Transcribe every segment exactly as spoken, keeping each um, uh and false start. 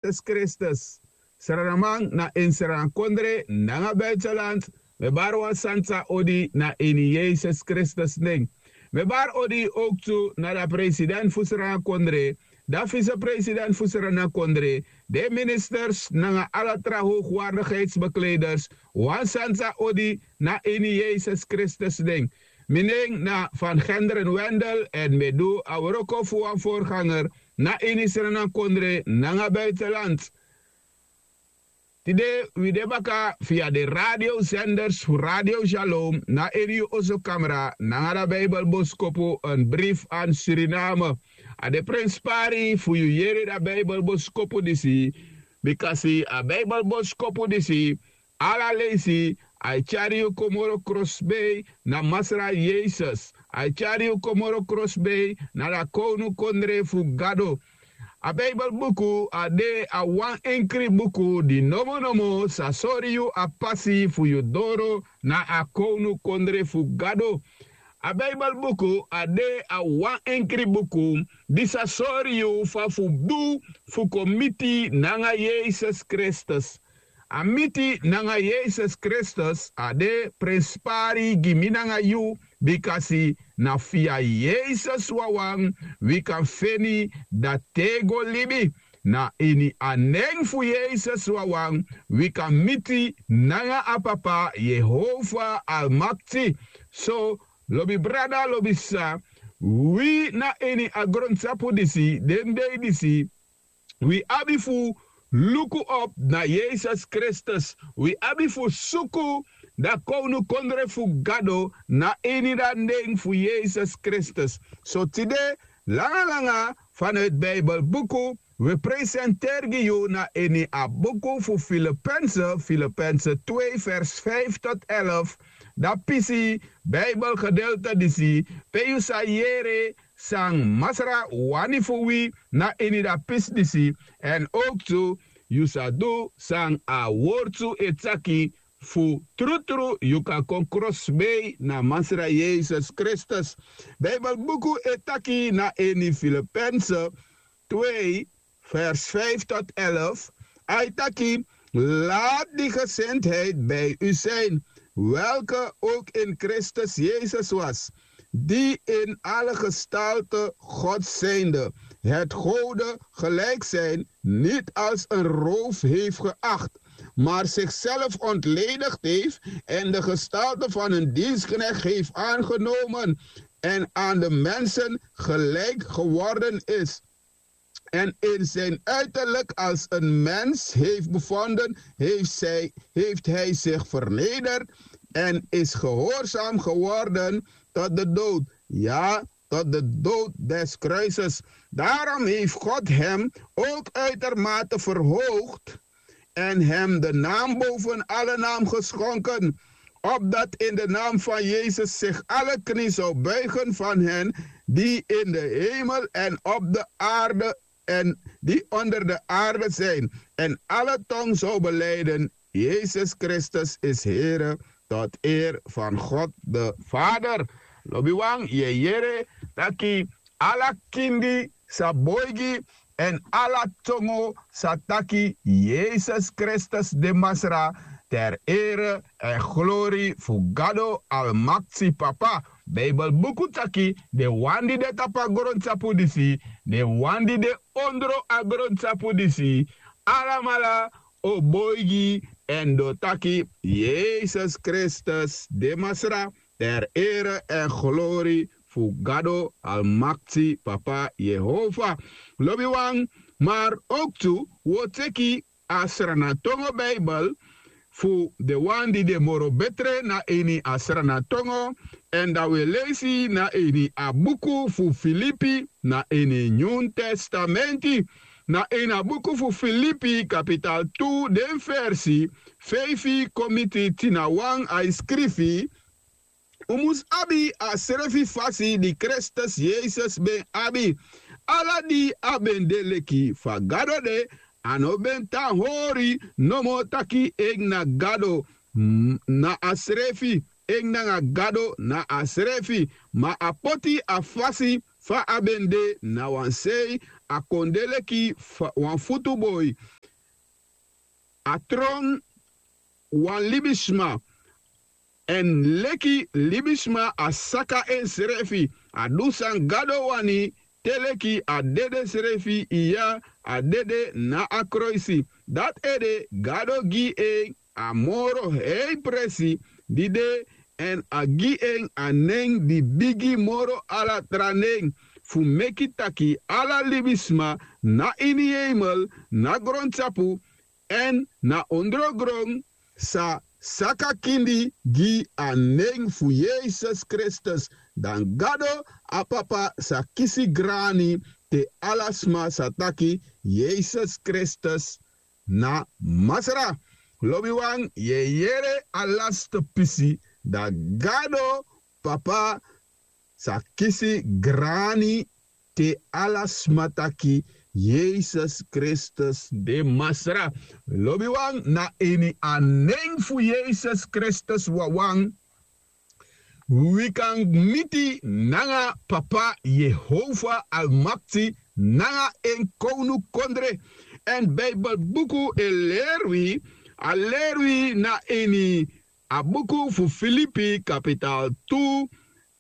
Yesus Kristus. Sranaman na ini sranakondre nanga buitenland, mi e bari wan santa odi na ini Yesus Kristus nen. Mi e bari odi owktu na dan president fu sranakondre, dan visepresident fu sranakondre, den ministers nanga ala tra hoogwaardigheidsbekleders, wan santa odi na ini Yesus Kristus nen. Mi nen na Van Genderen Wendel èn mi e du a wroko fu wan voorganger na ini sranakondre nanga buitenland. Tide wi de baka via de radiosenders fu Radio Shalom na ini yu oso kamra nanga dan Bijbelboskopu, een brief aan Suriname. A de prenspari fu yu yere dan Bijbelboskopu disi, bikasi a Bijbelboskopu disi ala leisi a e tyari yu kon moro krosbei na Masra Yesus. A e tyari yu kon moro krosbei na dan kownukondre fu Gado. A Bijbelbuku a de a wan enkri buku di nomonomo sa sori yu a pasi fu yu doro na a kownukondre fu Gado. A Bijbelbuku a de a wan enkri buku di sa sori yu fa fu du fu kon miti nanga Yesus Kristus. A miti nanga Yesus Kristus a de prenspari gi mi nanga yu, bikasi na via Yesus wawan wi kan feni dan tego libi. Na ini a nen fu Yesus wawan wi kan miti nanga a Papa Yehova Almakti. So, lobi brada, lobi sisa, wi na ini a grontapu disi, den dei disi, wi abi fu luku op na Yesus Kristus. Wi abi fu suku dan kownukondre fu Gado na ini dan nen fu Yesus Kristus. So tide, langa langa, vanuit Bijbelbuku, wi e presenteri gi yu na ini a buku fu Filipense, Filipense twee vers vijf tot elf, dan pisi Bijbelgedeelte disi, pe yu sa yere san Masra wani fu wi na ini dan pisi disi, èn owktu yu sa du san a wortu e taki, fu trutru yu kan kon krosbei na Masra Yesus Kristus. Bijbelbuku e taki na ini Filipense twee, vers vijf tot elf, a e taki: Laat die gezindheid bij u zijn, welke ook in Christus Jezus was, die in alle gestalte God zijnde, het gode gelijk zijn niet als een roof heeft geacht, maar zichzelf ontledigd heeft en de gestalte van een dienstknecht heeft aangenomen en aan de mensen gelijk geworden is. En in zijn uiterlijk als een mens heeft bevonden, heeft, zij, heeft hij zich vernederd en is gehoorzaam geworden tot de dood. Ja, tot de dood des kruises. Daarom heeft God hem ook uitermate verhoogd en hem de naam boven alle naam geschonken, opdat in de naam van Jezus zich alle knie zou buigen van hen die in de hemel en op de aarde en die onder de aarde zijn, en alle tong zou beleiden: Jezus Christus is Here, tot eer van God de Vader. Lobiwan, yu e yere taki ala kindi sa boigi, èn ala tongo sa taki Yesus Kristus de Masra, ter ere èn glori fu Gado Almakti Papa. Bijbel buku taki den wan di de tapu a grontapu disi, den wan di de ondro a grontapu disi, alamala o boigi èn den o taki Yesus Kristus de Masra, ter ere èn glori fu Gado Almakti Papa Yehova. Lobiwan, maar ook tu wi o teki a Sranatongo Bijbel fu den wan di de moro betre na ini a Sranatongo, èn dan wi e leisi na ini a buku fu Filipi na ini Nyun Testamenti. Na ini a buku fu Filipi kapital tu den versi feifi kon miti tin na wan, a e skrifi: Un mus abi a srefi fasi di Kristus Yesus ben abi. Ala di a ben de leki fa Gado de, a no ben tan hori nomo taki en na Gado, mm, na a srefi, en nanga Gado na a srefi, ma a poti a fasi fa a ben de na wan sei, a kon de leki wan futuboi. A tron wan libisma. Èn leki libisma a saka ensrefi, a du san gado wani, te leki a dede srefi iya, a dede na a kroisi. Dati ede gado gi en a moro hei presi di de, èn a gi en a nen di bigi moro ala tra nen, fu meki taki ala libisma na ini heimel, na grontapu èn na ondrogron sa saka kindi gi a nen fu Yesus Kristus. Dan Gado a Papa sa kisi grani te ala sma sa taki Yesus Kristus na Masra. Lobiwan, yu e yere a laste pisi, dan Gado Papa sa kisi grani te ala sma taki Yesus Kristus de Masra. Lobiwan, na ini a nen fu Yesus Kristus wawan wi kan miti nanga Papa Yehova Almakti nanga en kownukondre. Èn Bijbelbuku e leri wi, a leri wi na ini a buku fu Filipi kapital tu,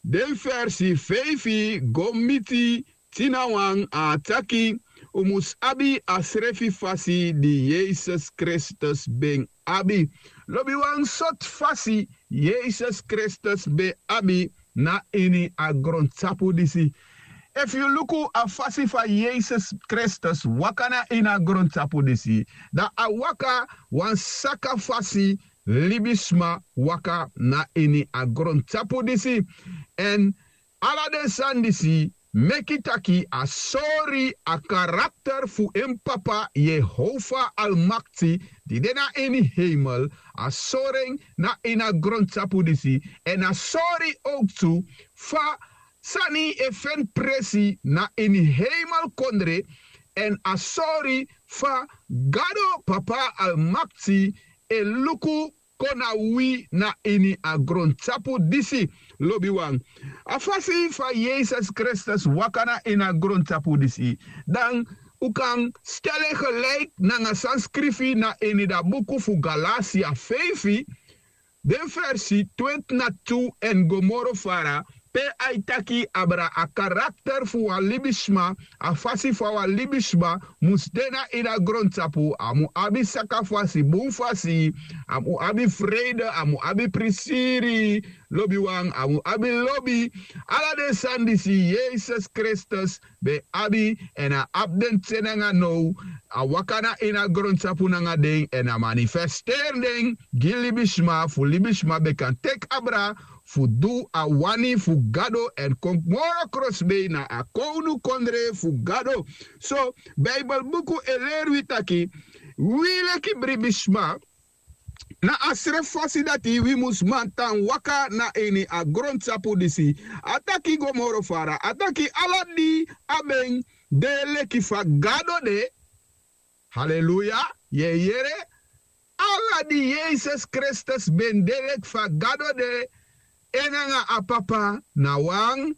den versi feifi go miti tinawan, a taki: Un mus abi a srefi fasi di Yesus Kristus ben abi. Lobiwan, sortu fasi Yesus Kristus ben abi na ini a grontapu disi? Efu yu luku a fasi fa Yesus Kristus waka na ini a grontapu disi, dan a waka wan saka fasi libisma waka na ini a grontapu disi. Èn ala den sani disi meki taki a sori a karakter fu en Papa Yehova Almakti di de na ini heimel, a sori en na ini a grontapu disi. Èn a sori owktu fa sani e feni presi na ini heimelkondre, èn a sori fa Gado Papa Almakti e luku kon na wi na ini a grontapu disi. Lobiwan, a fasi fa Yesus Kristus waka na ini a grontapu disi, dan un kan stel en gelijk nanga san skrifi na ini da buku fu Galatia feifi, den versi twenti na tu èn go moro fara, pe a e taki abra a karakter fu wan libisma, a fasi fa wan libisma mus de na ini a grontapu. A mu abi saka fasi, bun fasi, a mu abi freide, a mu abi prisiri, lobiwan, a mu abi lobi. Ala den sani disi Yesus Kristus ben abi, èn a abi den te nanga now. A waka na ini a grontapu nanga den èn a manifesteri den gi libisma, fu libisma ben kan teki abra fu du a wani fu Gado èn kon moro krosbei na a kownukondre fu Gado. So Bijbelbuku e leri wi taki wi leki libisma, na a srefi fasi dati wi mus man tan waka na ini a grontapu disi. A taki go moro fara, a taki ala di a ben de leki fa Gado de. Haleluya, yu e yere? Ala di Yesus Kristus ben de leki fa Gado de, en nanga a Papa na wan,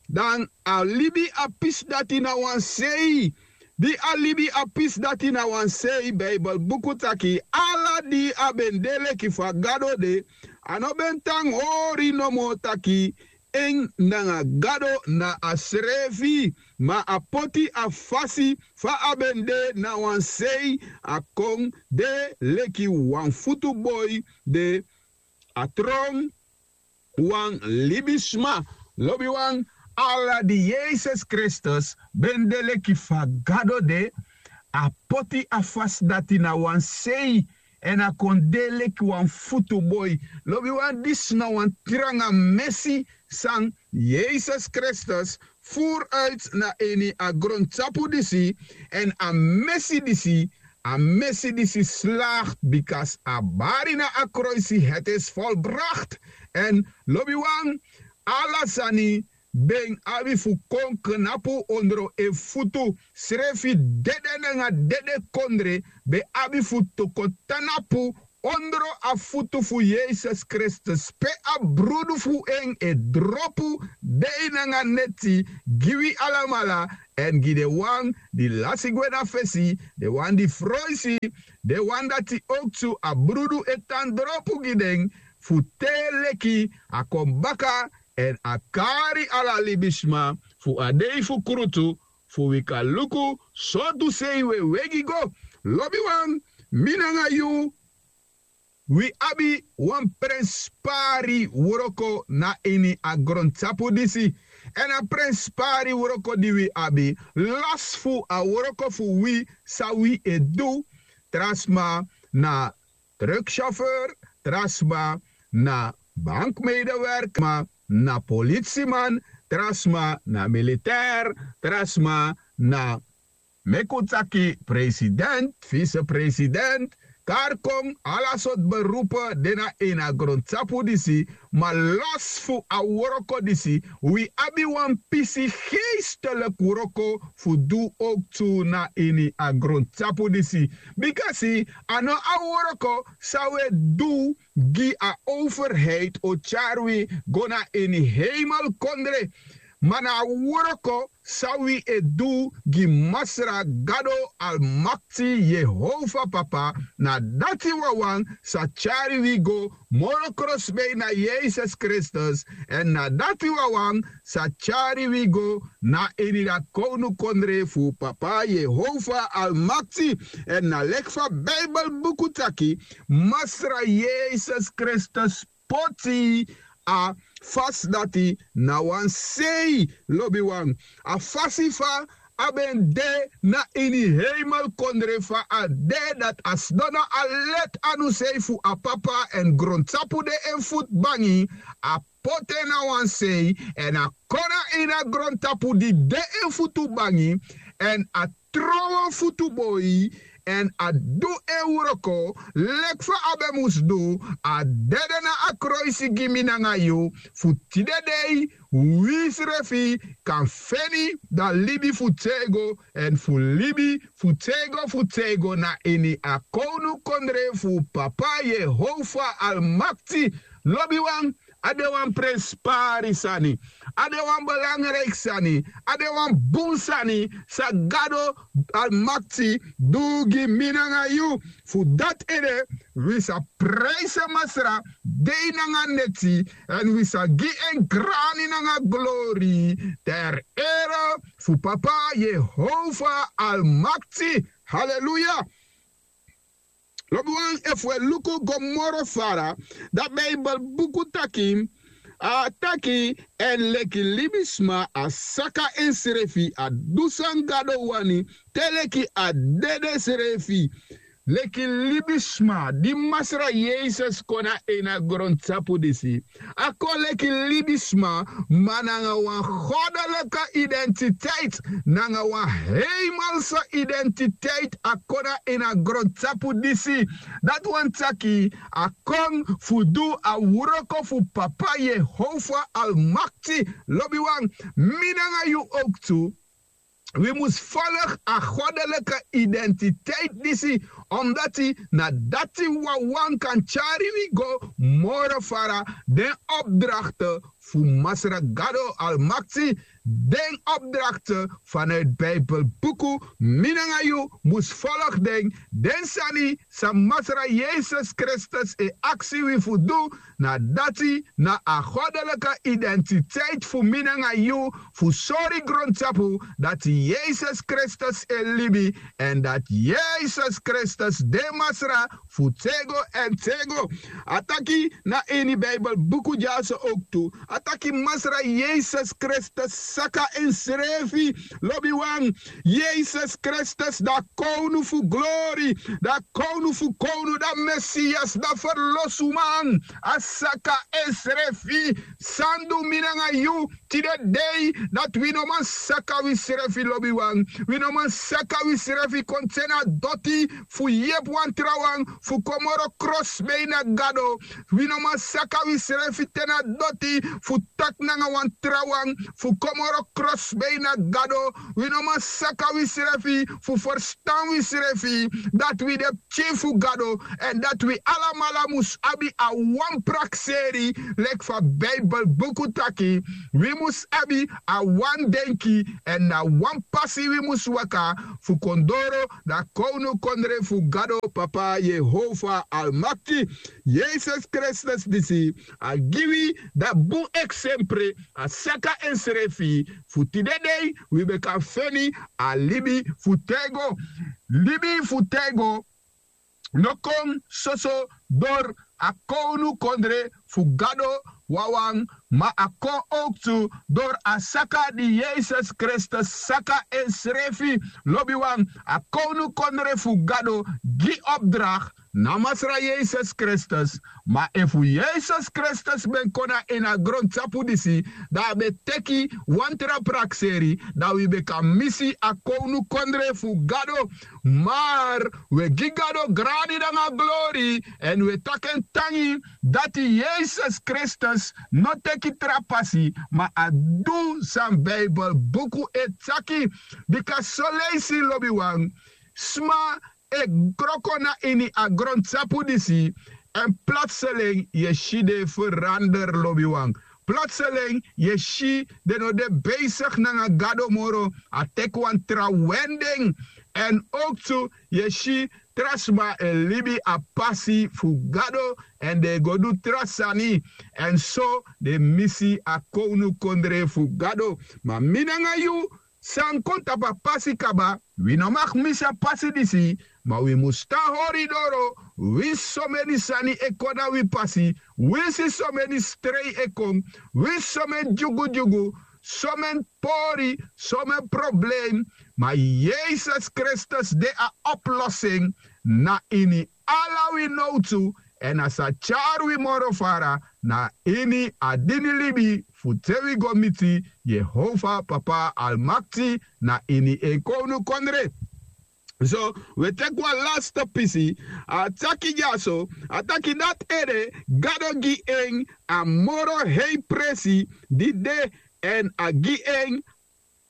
dan a libi a pisi dati na wan sei. Di a libi a pisi dati na wan sei, Bijbelbuku taki ala di a ben de leki fa Gado de, a no ben tan hori nomo taki en nanga Gado na a srefi, ma a poti a fasi fa a ben de na wan sei, a kon de leki wan futuboi, de a tron wan libisma. Lobiwan, ala di Yesus Kristus ben de leki fa Gado de, a poti a fasi dati na wan sei, èn a kon de leki wan futuboi. Lobiwan, disi na wan tranga mesi san Yesus Kristus furu uiti na ini a grontapu disi. Èn a mesi disi, a mesi disi slagti, bika a bari na a kroisi: het is volbracht. Èn lobiwan, ala sani ben abi fu kon knapu ondro en futu. Srefi dede nanga dede kondre ben abi fu toko tnapu ondro a futu fu Yesus Kristus, pe a brudu fu en e dropu dei nanga neti gi wi alamala, èn gi den wan di lasi gwe na fesi, den wan di froisi, den wan dati owktu a brudu e tan dropu gi den, fu te leki a kon baka èn a kari ala libisma fu a dei fu krutu, fu wi kan luku sortu sei wi e wegi go. Lobiwan, mi nanga yu, wi abi wan prenspari wroko na ini a grontapu disi. Èn a prenspari wroko di wi abi, los fu a wroko fu wi san wi e du, tra sma na truckchauffeur, tra sma na bankmedewerker, tra sma na politiman, tra sma na militair, tra sma na, meki un taki, president, vicepresident, kari kon, ala sortu beroepu de na ini a grontapu disi. Ma los fu a wroko disi, wi abi wan pisi geestelijk wroko fu du owktu na ini a grontapu disi. Bikasi a no a wroko san wi e du gi a overheid o tyari wi go na ini heimelkondre. Ma na a wroko san wi e du gi Masra Gado Almakti, Yehova Papa, na dati wawan sa tyari wi go moro krosbei na Yesus Kristus, èn na dati wawan sa tyari wi go na ini a kownukondre fu Papa Yehova Almakti. Èn na leki fa Bijbelbuku taki, Masra Yesus Kristus poti a fasi dati na wan sei, lobiwan. A fasi fa a ben de na ini heimelkondre, fa a de dati a sidon na a leti anu sei fu a Papa, èn grontapu de en futu bangi, a poti en na wan sei, èn a kon na ini a grontapu di de en futu bangi, èn a tron wan futu boi, èn a du en wroko leki fa a ben mus du. A dede na a kroisi gi mi nanga yu, fu tide dei wi srefi kan feni da libi fu tego, èn fu libi fu tego fu tego na ini a kownukondre fu Papa Yehova Almakti. Lobiwan, a de wan prenspari sani, a de wan belangriki sani, a de wan bun sani san Gado Almakti du gi mi nanga yu. Fu dati ede wi sa prijsi Masra dei nanga neti, èn wi sa gi en grani nanga glori, ter ere fu Papa Yehova Almakti. Haleluya. Lobiwan, efu wi e luku go moro fara, da Bijbelbuku taki, a taki, èn leki libisma a saka ensrefi, a du san Gado wani, te leki a dede srefi. Leki libisma di Masra Yesus kon na ini a grontapu disi, a kon leki libisma, ma nanga wan goddelijke identiteit, nanga wan heimelsa identiteit a kon na ini a grontapu disi. Dati wani taki a kon fu du a wroko fu Papa Yehova Almakti. Lobiwan, mi nanga yu owktu, wi mus folg a goddelijke identiteit disi, omdati na dati wawan kan tyari wi go moro fara den opdrachten fu Masra Gado Almakti, den opdrachten vanuit Bijbelbuku. Mi nanga yu mus folg den, den sani san Masra Yesus Kristus e aksi wi fu du, na dati na a goddelijke identiteit fu mi nanga yu, fu sori grontapu dati Yesus Kristus e libi, èn dati Yesus Kristus de Masra fu tego èn tego. A taki na ini Bijbelbuku dyaso owktu, a taki Masra Yesus Kristus saka ensrefi. Lobiwan, Yesus Kristus, da kownu fu glori, da kownu fu kownu, da Mesias, da ferlosuman, a saka ensrefi. San du mi nanga yu? tide dei dati wi no man saka wisrefi lobiwan. Wi no man saka wisrefi kon te na doti fu yepi wan trawan fu kon moro krosbei na gado. Wi no man saka wisrefi te na doti fu taki nanga wan trawan fu kon moro krosbei na gado. Wi no man saka wisrefi fu ferstan wisrefi dati wi de pikin fu gado, èn dati wi alamala mus abi a wan prakseri leki fa Bijbel buku taki. Wi mus abi a wan denki èn na wan pasi wi mus waka fu kon doro na kownukondre fu gado, papa Yehova Almakti. Yesus Kristus disi a gi wi da bun eksempre, a saka ensrefi fu tide dei wi ben kan feni a libi fu tego. Libi fu tego no kon soso dori a kownukondre fu gado wawan, ma a kon owktu dori a saka di Yesus Kristus saka ensrefi. Lobiwan, a kownukondre fu gado gi opdrakt na Masra Yesus Kristus. Ma efu Yesus Kristus ben kon na ini a grontapu disi, dan a ben teki wan tra prakseri, dan wi ben kan misi a kownukondre fu gado. Mar wi e gi gado grani nanga glori, èn wi e taki en tangi dati Yesus Kristus no teki tra pasi, ma a du san Bijbel buku e taki. Bika soleisi lobiwan, sma e wroko na ini a grontapu disi, èn platseling yu e si den e feranderi lobiwan. Platseling yu e si den no de beisigi nanga gado moro, a teki wan tra wending. Èn owktu yu e si tra sma e libi a pasi fu gado, èn den e go du tra sani, èn so den e misi a kownukondre fu gado. Ma mi nanga yu san kon tapu a pasi kaba, wi no mag misi a pasi disi, ma wi mus tan hori doro. Winsi someni sani e kon na wi pasi, winsi someni strei e kon, winsi someni dyugudyugu, someni pori, someni problem, ma Yesus Kristus de a oplossing na ini ala wi nowtu, èn a sa tyari wi moro fara na ini a dini libi fu te wi go miti Yehova Papa Almakti na ini en kownukondre. So wi e teki wan laste pisi, a taki dyaso, a taki dati ede Gado gi en a moro hei presi di de, èn a gi en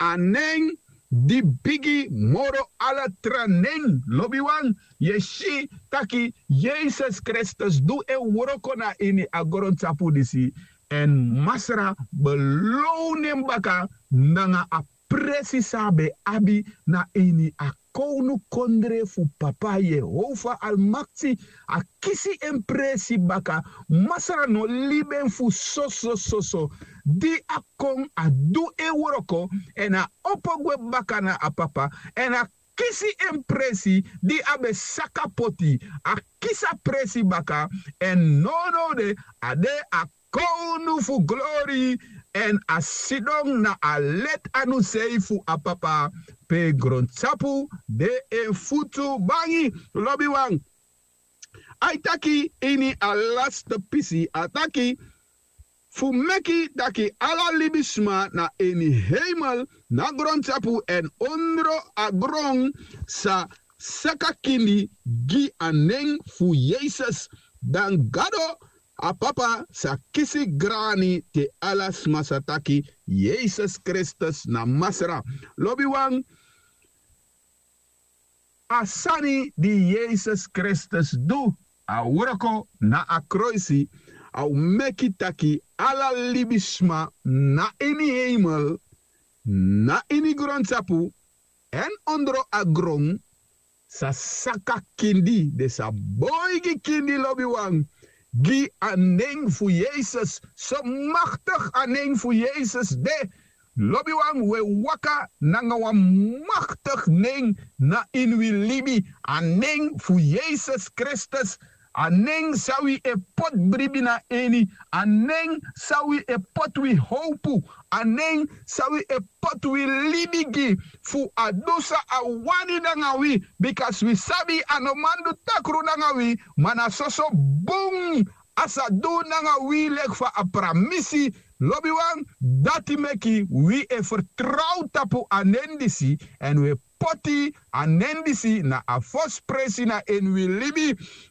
a nen di bigi moro ala tra nen. Lobiwan, yu e si taki Yesus Kristus du en wroko na ini a grontapu disi, èn Masra below en baka nanga a presi san a ben abi na ini a kownukondre fu Papa Yehova Almakti. A kisi en presi baka. Masra no libi en fu soso soso. Di a kon, a du en wroko, èn a opo gwe baka na a Papa, èn a kisi en presi di a ben saka poti. A kisi a presi baka, èn nownow de a de a kownu fu glori, èn a sidon na a leti anu sei fu a Papa, pe grontapu de en futu bangi. Lobiwan, a e taki ini a laste pisi, a taki fu meki taki ala libisma na ini heimel, na grontapu èn ondro a gron sa saka kindi gi a nen fu Yesus. Dan Gado a Papa sa kisi grani te ala sma sa taki Yesus Kristus na Masra. Lobiwan, a sani di Yesus Kristus du, a wroko na a kroisi, a o meki taki ala libisma na ini heimel, na ini grontapu èn ondro a gron sa saka kindi, den sa boigi kindi, lobiwan, gi a nen fu Yesus. So maktigi a nen fu Yesus de. Lobiwan, wi e waka nanga wan maktigi nen na ini wi libi, a nen fu Yesus Kristus. A nen san wi e poti bribi na ini, a nen san wi e poti wi howpu, a nen san wi e poti wi libi gi, fu a du san a wani nanga wi, bikasi wi sabi a no man du takru nanga wi, ma na soso bun a sa du nanga wi, leki fa a pramisi Lobiwan, dati meki wi e fertrow tapu a nen disi, èn wi e poti a nen disi na a fosi presi na ini wi libi.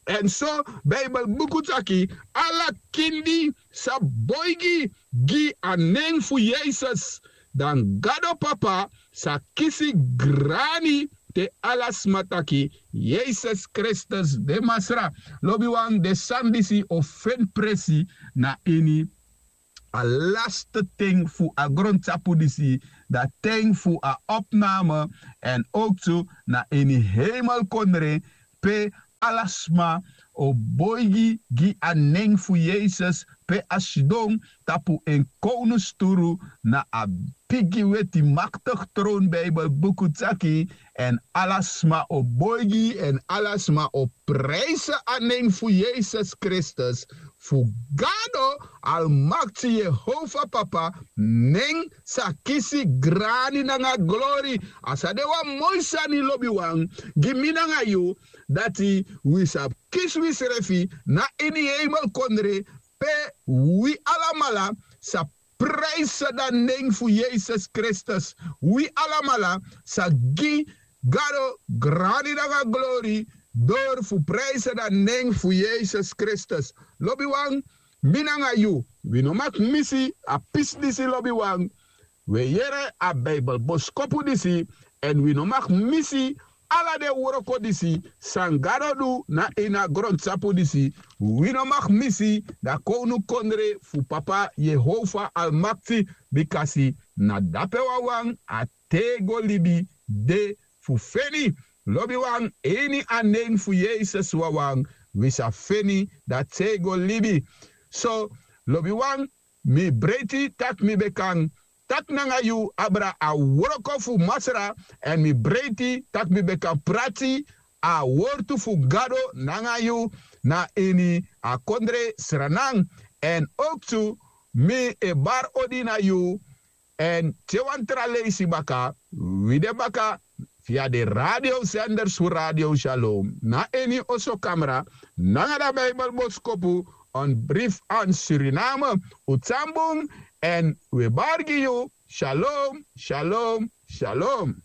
Èn so, Beibel buku taki, ala kindi sa boigi gi a nen fu Yesus, dan Gado Papa sa kisi grani te ala sma taki Yesus Kristus de Masra. Lobiwan, den sani disi o feni presi na ini a laste ten fu a grontapu disi, dan ten fu a opname, èn owktu na ini heimelkondre, pe ala sma o boigi gi a nen fu Yesus, pe a sidon tapu en kownusturu na a bigi weti maktigi tron. Beibel buku taki, èn ala sma o boigi, èn ala sma o prijsi a nen fu Yesus Kristus, fu Gado Almakti Yehova Papa nen sa kisi grani nanga glori. A sa de wan moi sani, lobiwan, gi mi nanga yu, dati wi sa kisi wisrefi na ini heimelkondre, pe wi alamala sa prijsi dan nen fu Yesus Kristus. Wi alamala sa gi Gado grani nanga glori, dori fu prijsi dan nen fu Yesus Kristus. Lobiwan, mi nanga yu, wi no mag misi a pisi disi, lobiwan. Wi e yere a Beibel boskopu disi, èn wi no mag misi ala den wroko disi san Gado du na ini a grontapu disi. Wi no mag misi dan kownukondre fu Papa Yehova Almakti, bikasi na dape wawan a tego libi de fu feni. Lobiwan, ini a nen fu Yesus wawan wi sa feni dan tego libi. So, lobiwan, mi breiti tak' mi ben kan taki nanga yu abra a wroko fu Masra, èn mi breiti tak' mi ben kan prati a wortu fu Gado nanga yu na ini a kondre Sranan. Èn owktu mi e bari odi na yu, èn te wan tra leisi baka, wi de baka via den radiosenders fu Radio Shalom na ini oso kamra nanga dan Beibel boskopu, een brief aan Suriname. Un tan bun, èn wi e bari gi yu. Shalom, shalom, shalom.